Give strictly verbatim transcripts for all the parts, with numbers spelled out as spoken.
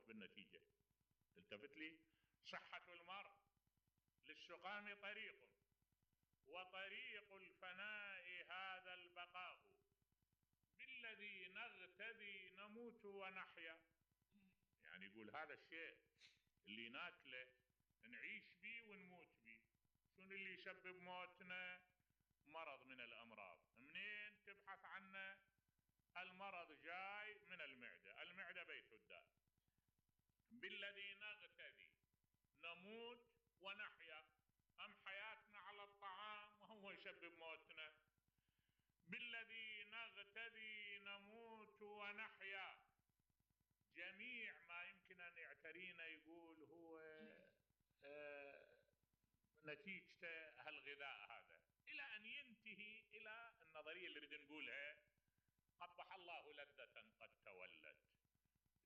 الموت بالنتيجة. التفت لي. صحة المرء للسقام طريق، وطريق الفناء هذا البقاء، بالذي نغتدي نموت ونحيا. يعني يقول هذا الشيء اللي ناكله نعيش بيه ونموت بيه. شنو اللي يسبب موتنا؟ مرض من الأمراض. منين تبحث عنه؟ المرض جاي من المعدة، المعدة بيت الداء. بالذي نغتدي نموت ونحيا، أم حياتنا على الطعام وهو يسبب موتنا. بالذي نغتدي نموت ونحيا، جميع ما يمكن أن يعترينا يقول هو آه نتيجة هالغذاء هذا، إلى أن ينتهي إلى النظرية اللي نريد نقولها: قبح الله لذة قد تولت.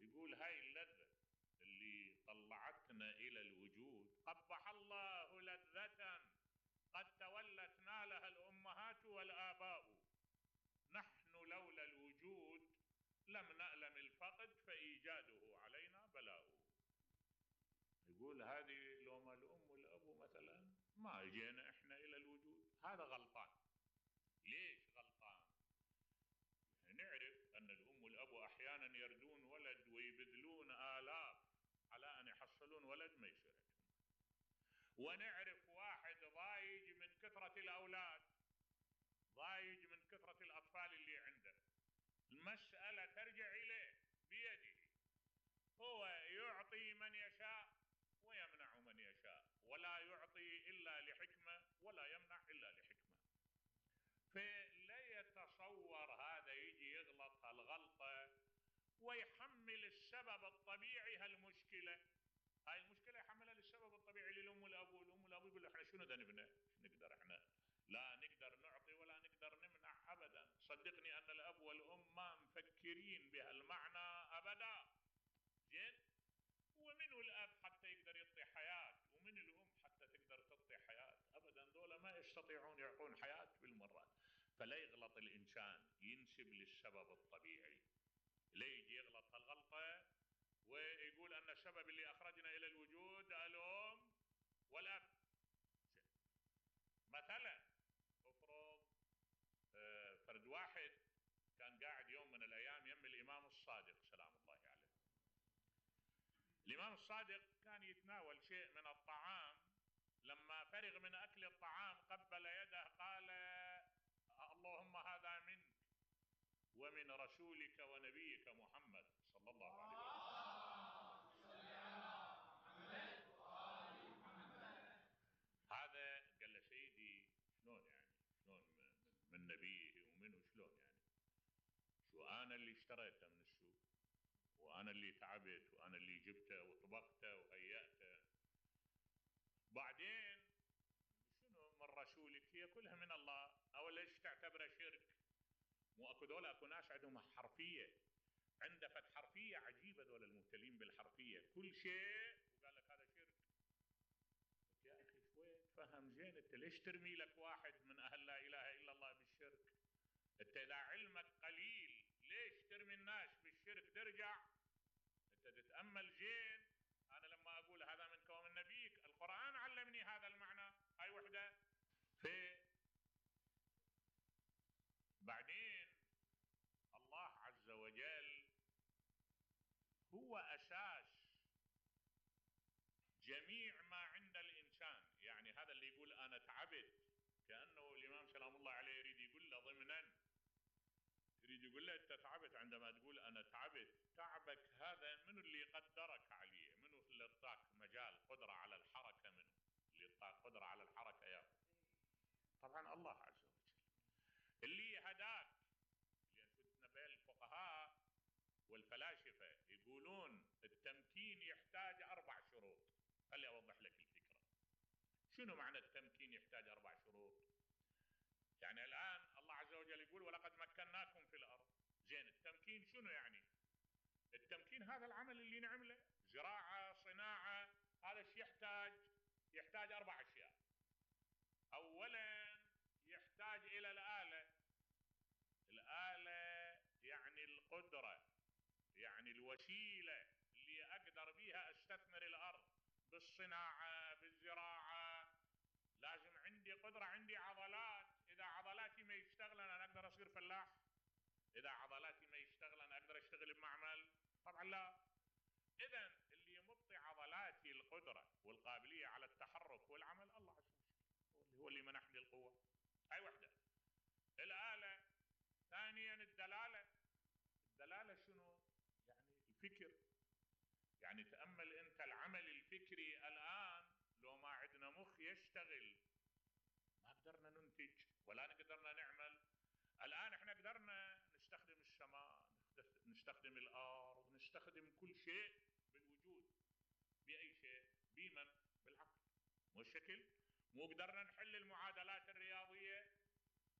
يقول هاي اللذة اللي طلعتنا إلى الوجود، قبح الله لذة قد تولت نالها الأمهات والآباء، نحن لولا الوجود لم نألم الفقد فإيجاده علينا بلاء. يقول هذه لو ما الأم والأبو مثلا ما جينا إحنا إلى الوجود. هذا غلطان. ليش غلطان؟ نعرف أن الأم والأبو أحيانا يردون ولد ويبذلون آلاف على أن يحصلون ولد ما يصير عندهم. ونعرف واحد ضايج من كثرة الأولاد، ضايج من كثرة الأطفال اللي عنده. المسألة ترجع إليه بيده، هو يعطي من يشاء ويمنع من يشاء، ولا يعطي إلا لحكمة ولا يمنع إلا لحكمة. فلا يتصور هذا يجي يغلط هالغلطة ويحمل السبب الطبيعي هالمشكلة. هاي المشكلة يحملها للسبب الطبيعي للأم والأبو. الأم والأبو يقول احنا شنو دا نبنى؟ شو نقدر احنا؟ لا نقدر نعطي ولا نقدر نمنع أبدا. صدقني أن الأب والأم ما مفكرين بهالمعنى أبدا. زين؟ ومنه الأب حتى يقدر يعطي حياة، ومن الأم حتى تقدر تعطي حياة. أبدا دولة ما يستطيعون يعطون حياة بالمرة. فلا يغلط الإنسان ينسب للسبب الطبيعي، لا يجي يغلط هالغلطة ويقول أن السبب اللي أخرجنا إلى الوجود الأم والأب. مثلا افرض فرد واحد كان قاعد يوم من الأيام يم الإمام الصادق سلام الله عليه. الإمام الصادق كان يتناول شيء من الطعام، لما فرغ من أكل الطعام قبل يده قال: اللهم هذا منك ومن رسولك ونبيك محمد صلى الله عليه وسلم. هذا قال له: سيدي شلون يعني؟ شلون من نبيه ومنه شلون يعني؟ شو أنا اللي اشتريته من السوق، وأنا اللي تعبت، وأنا اللي جبته وطبخته وهيأته. بعدين شنو من رسولك؟ هي كلها من الله. أو ليش تعتبره شرك؟ مو أكو دولة أكو ناس عندهم حرفية، عنده فد حرفية عجيبة دولة المبتلين بالحرفية، كل شيء وقال لك هذا شرك. يا أخي شوي تفهم زين، أنت ليش ترمي لك واحد من أهل لا إله إلا الله بالشرك؟ أنت إذا علمك قليل ليش ترمي الناس بالشرك؟ ترجع أنت تتأمل زين. أنا لما أقول هذا منك ومن نبيك، القرآن علمني هذا المعنى. هاي وحدة. في بعدين الله عز وجل هو أساس جميع ما عند الإنسان. يعني هذا اللي يقول أنا تعبت، كأنه الإمام سلام الله عليه يريد يقول له ضمنا، يريد يقول له أنت تعبت عندما تقول أنا تعبت. تعبك هذا منو اللي قدرك عليه؟ منو اللي اعطاك مجال قدرة على الحركة؟ منو اللي اعطاك قدرة على الحركة يا أخي؟ طبعا الله عز وجل. اللي هداك، لأن فتنا بين الفقهاء والفلاسفة يقولون التمكين يحتاج أربع شروط. خلي أوضح لك الفكرة. شنو معنى التمكين يحتاج أربع شروط؟ يعني الآن الله عز وجل يقول ولقد مكناكم في الأرض. زين، التمكين شنو يعني؟ التمكين هذا العمل اللي نعمله، زراعة، صناعة، هذا الشيء يحتاج يحتاج أربع أشياء. أولا يحتاج إلى الآلة. الآلة يعني القدرة، يعني الوسيلة اللي اقدر بيها استثمر الارض بالصناعة بالزراعة. لازم عندي قدرة، عندي عضلات. اذا عضلاتي ما يشتغلن انا اقدر اصير فلاح؟ اذا عضلاتي ما يشتغلن اقدر اشتغل بمعمل؟ طبعا لا. اذا اللي يمطي عضلاتي القدرة والقابلية على التحرك والعمل الله عز وجل، هو اللي منحني القوة. هاي وحدة. الآلة. ثانيا الدلالة. الدلالة شنو؟ يعني الفكر. يعني تأمل انت العمل الفكري الآن، لو ما عندنا مخ يشتغل ما قدرنا ننتج ولا قدرنا نعمل. الآن احنا قدرنا نستخدم السماء، نستخدم الأرض، نستخدم كل شيء بالوجود. بأي شيء؟ بمن؟ بالعقل. مو الشكل؟ مو قدرنا نحل المعادلات الرياضية،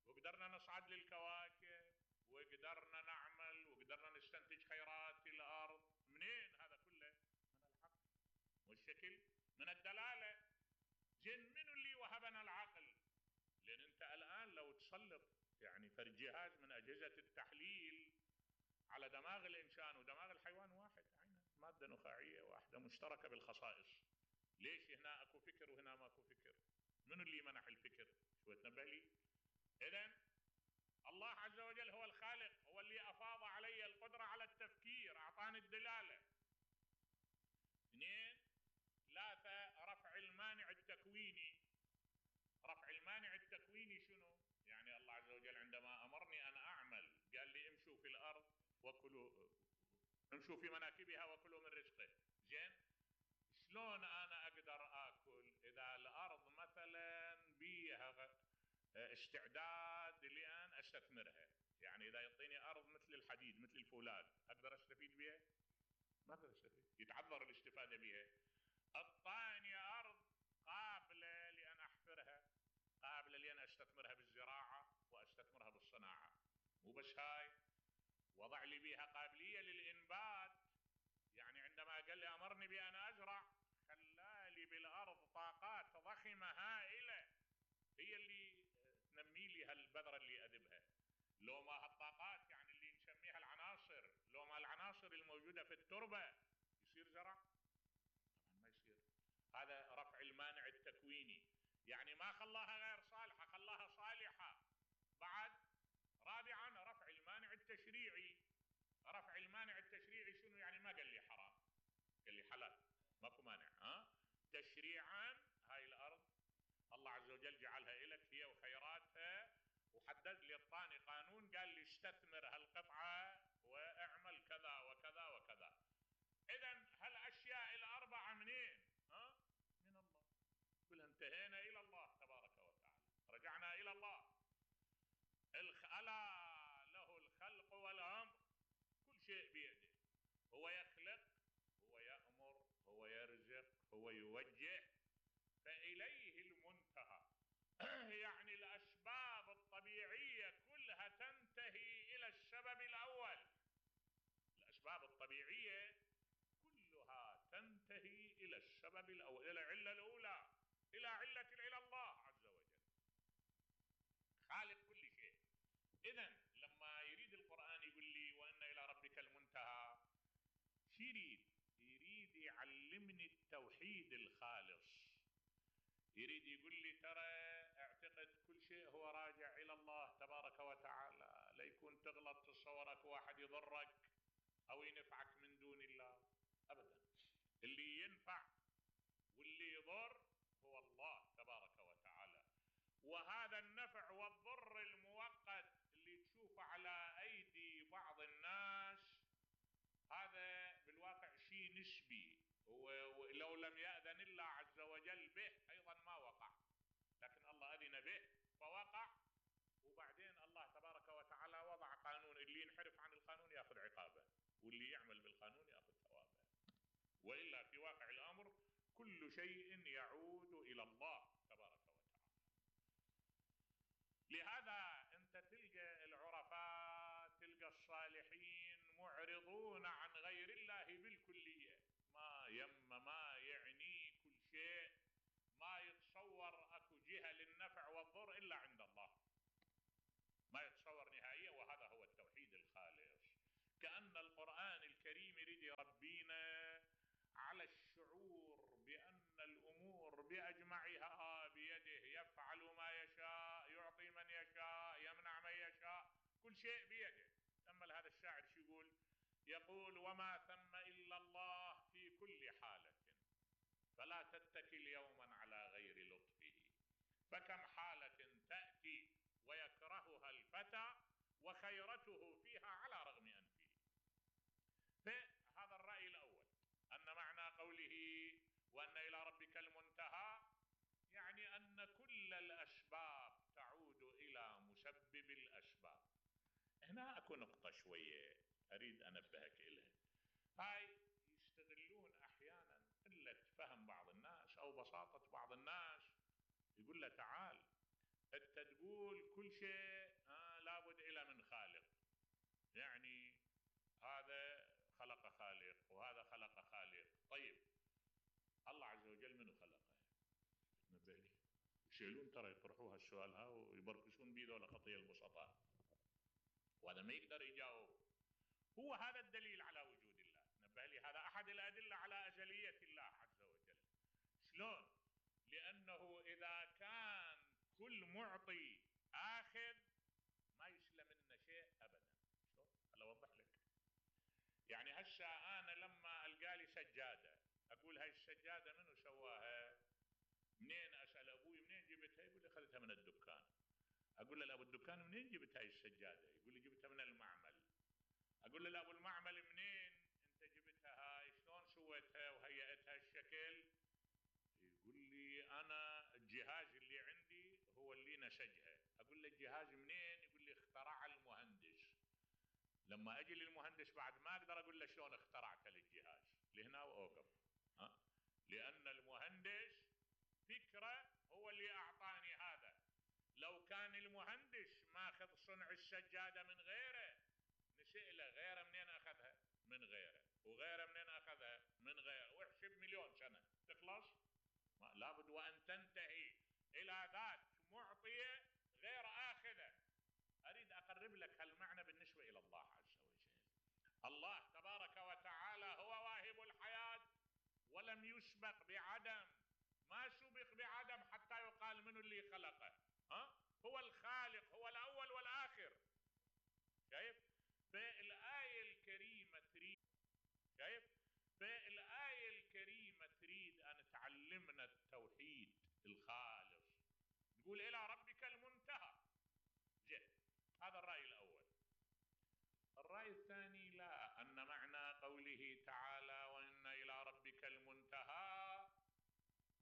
وقدرنا نصعد للكواكب، وقدرنا نعمل، وقدرنا نستنتج خيرات الأرض. منين هذا كله؟ من العقل. مو الشكل؟ من الدلالة. زين منو اللي وهبنا العقل؟ لأن أنت الآن لو تسلط يعني فرد جهاز من أجهزة التحليل على دماغ الإنسان ودماغ الحيوان واحد، عينه مادة نخاعية واحدة مشتركة بالخصائص. ليش هنا أكو فكر وهنا ماكو فكر؟ منو اللي منح الفكر؟ شو تنبه لي؟ إذن الله عز وجل هو الخالق، هو اللي أفاض علي القدرة على التفكير، أعطاني الدلالة. اثنين. ثلاثة. رفع المانع التكويني. رفع المانع التكويني شنو؟ يعني الله عز وجل عندما أمرني أن أعمل قال لي امشوا في الأرض وكلوا، امشوا في مناكبها وكلوا من رزقه. زين، شلون أنا أقدر آكل إذا الأرض مثلا بيها استعداد لأن أستثمرها؟ يعني إذا يعطيني أرض مثل الحديد مثل الفولاذ أقدر أستفيد بها؟ ما أقدر أستفيد، يتعذر الاستفادة بها. أعطاني أرض قابلة لأن أحفرها، قابلة لأن أستثمرها بالزراعة وأستثمرها بالصناعة. مو بس هاي، وضع لي بها قابلية للإنبات. يعني عندما قال لي أمرني بأن أزرع خلالي بالأرض طاقات ضخمة هائلة هي اللي تنمي لي هالبذرة اللي أذبها. لو ما هالطاقات يعني اللي نسميها العناصر، لو ما العناصر الموجودة في التربة يصير زرع؟ طبعا ما يصير. هذا رفع المانع التكويني، يعني ما خلاها غير صالحة، خلاها صالحة. بعد. رابعا رفع المانع التشريعي. رفع المانع التشريعي شنو يعني؟ ما قال لي حرام، قال لي حلال، ماكو مانع. ها تشريعا هاي الأرض الله عز وجل جعلها لك هي وخيراتها، وحدد لي الطاني قانون قال لي استثمر هالقطعة واعمل كذا وكذا وكذا. إذن هالأشياء الأربعة منين؟ ها؟ من الله. كلها انتهينا إلى الله تبارك وتعالى، رجعنا إلى الله. ألا له الخلق والأمر، كل شيء بيده. هو يخلق، هو يأمر، هو يرزق، هو يوجه، فإليه المنتهى. يعني الأسباب الطبيعية كلها تنتهي إلى السبب الأول. الأسباب الطبيعية كلها تنتهي إلى السبب الأول، إلى العلة الأولى، إلى علة إلى الله عز وجل خالق كل شيء. إذن لما يريد القرآن يقول لي وإن إلى ربك المنتهى، شو يريد؟ يريد يعلمني التوحيد الخالص. يريد يقول لي ترى اعتقد كل شيء هو راجع إلى الله تبارك وتعالى، لا يكون تغلط تصورك واحد يضرك أو ينفعك من دون الله أبدا. اللي ينفع واللي يضر هو الله تبارك وتعالى. وهذا النفع والضر المؤقت اللي تشوفه على أيدي بعض الناس هذا بالواقع شيء نسبي، ولو لم يأذن الله عز وجل به أيضا ما وقع، لكن الله أذن به فوقع. وبعدين الله تبارك وتعالى وضع قانون، اللي ينحرف عن القانون يأخذ عقابه، واللي يعمل بالقانون يأخذ ثوابه. وإلا في واقع الأمر كل شيء يعود إلى الله تبارك وتعالى. لهذا أنت تلقى العرفاء، تلقى الصالحين معرضون عن غير الله بالكلية، ما يم ما يعني كل شيء، ما يتصور أكو جهة للنفع والضر إلا عند الله، ما يتصور نهائيا. وهذا هو التوحيد الخالص. كأن القرآن الكريم يريد يربينا شيء بيده. تأمل هذا الشاعر شو يقول، يقول: وما ثم إلا الله في كل حالة، فلا تتكل يوما على غير لطفه، فكم حالة تأتي ويكرهها الفتى وخيرته فيها على رغم أنفه. فهذا الرأي الأول، أن معنى قوله وأن إلى ربك المنتهى يعني أن كل الأسباب تعود إلى مسبب الأسباب. هنا أكو نقطة شوية أريد أنبهك إليها. هاي يستغلون أحيانا قلة فهم بعض الناس أو بساطة بعض الناس، يقول له تعال أنت تقول كل شيء آه لابد إلى من خالق، يعني هذا خلق خالق وهذا خلق خالق. طيب الله عز وجل منو خلقه؟ تنبه لي. يشيلون ترى يطرحوها السؤال ها ويبركشون بيه ذولا خطية البسطاء، وهذا ما يقدر يجاوب. هو هذا الدليل على وجود الله. نبه لي، هذا أحد الأدلة على أزلية الله عز وجل. شلون؟ لأنه إذا كان كل معطي آخذ ما يسلم منا شيء أبدا. شلون؟ هلا أوضح لك. يعني هسه أنا لما ألقى لي سجادة أقول هاي السجادة منو سواها؟ منين؟ أسأل أبوي منين جبتها؟ يقول لي أخذتها من الدكان. أقول له لأبو الدكان منين جبت هاي السجادة؟ يقول لي جبتها من المعمل. أقول له لأبو المعمل منين أنت جبتها هاي؟ شلون سويتها وهيئتها الشكل؟ يقول لي أنا الجهاز اللي عندي هو اللي نسجها. أقول له الجهاز منين؟ يقول لي اخترع المهندس. لما أجي للمهندس بعد ما أقدر أقول له شلون اخترعت الجهاز، لهنا وأوقف. ها؟ لأن المهندس فكرة هو اللي أعطاني هذا. لو كان المهندس ماخذ صنع السجادة من غيره نسأله غيره منين أخذها؟ من غيره، وغيره منين أخذها؟ من غيره، واحسب مليون سنة تخلص؟ ما لابد وأن تنتهي إلى ذات معطية غير آخذة. أريد أقرب لك هالمعنى بالنسبة إلى الله عز وجل. الله تبارك وتعالى هو واهب الحياة ولم يسبق بعدم، ما سبق بعدم حتى يقال منه اللي خلقه. ها؟ هو الخالق، هو الأول والآخر. شايف؟ فالآية الكريمة تريد شايف؟ فالآية الكريمة تريد أن تعلمنا التوحيد الخالص. نقول إلى ربك المنتهى. زين، هذا الرأي الأول. الرأي الثاني لا، أن معنى قوله تعالى وإن إلى ربك المنتهى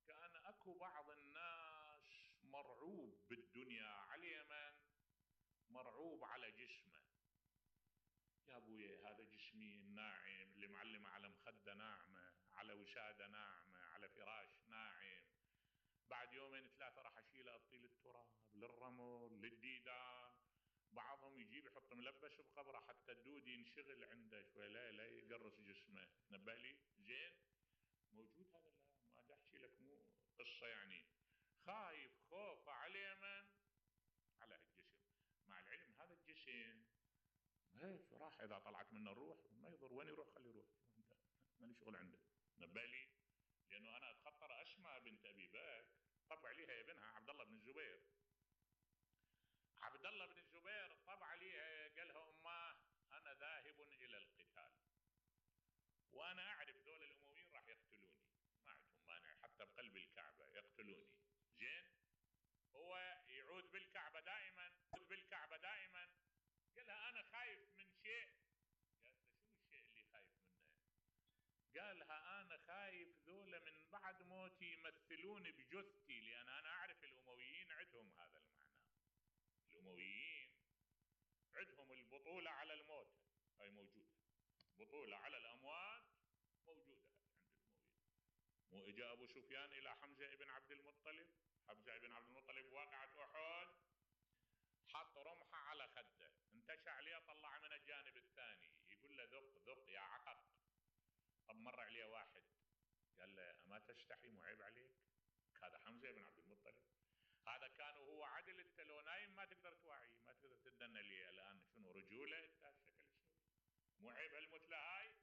كان أكو بعض الناس مرعوب بالدنيا على من؟ مرعوب على جسمه. يا أبوي هذا جسمي الناعم اللي معلمة على مخدة ناعمة، على وسادة ناعمة، على فراش ناعم، بعد يومين ثلاثة راح أشيله أبطي للتراب للرمل للديدان. بعضهم يجيب يحط ملبس بقبره حتى الدود ينشغل عنده شوي، لا لا يقرص جسمه. نبه لي. زين، موجود هذا. لا ما أحكي لك مو قصة يعني. خايف خوف على من؟ على الجسم. مع العلم هذا الجسم هيك راح إذا طلعت منه الروح ما يضر، وين يروح خليه يروح، ما لي شغل عنده. نبه لي. لأنه أنا أتخطر أسماء بنت أبي بكر طبع عليها يا ابنها عبد الله بن الزبير. عبد الله بن الزبير طبع عليها قال لها أماه أنا ذاهب إلى القتال وأنا أعرف ذول الأمويين راح يقتلوني، ما عندهم مانع حتى بقلب الكعبة يقتلوني. زين، هو يعود بالكعبة دائما، يعود بالكعبة دائما. قال لها أنا خايف من شيء. قالت له شنو الشيء اللي خايف منه؟ قال لها أنا خايف ذولا من بعد موتي يمثلون بجثتي، لأن أنا أعرف الأمويين عندهم هذا المعنى. الأمويين عندهم البطولة على الموتى، هاي موجودة، بطولة على الأموات موجودة عند الأمويين. مو إجا أبو سفيان إلى حمزة بن عبد المطلب، حمزة بن عبد المطلب واقعة أحد، حط رمحه على خده، انتشى عليه طلع من الجانب الثاني، يقول له ذق ذق يا عقق. طب مر عليه واحد قال له أما تستحي مو عيب عليك؟ هذا حمزة بن عبد المطلب، هذا كان وهو عدل، انت لو نايم ما تقدر توعي، ما تقدر تدنى لي الآن شنو رجولة انت هالشكل الشوي، مو عيب هالمثلى هاي؟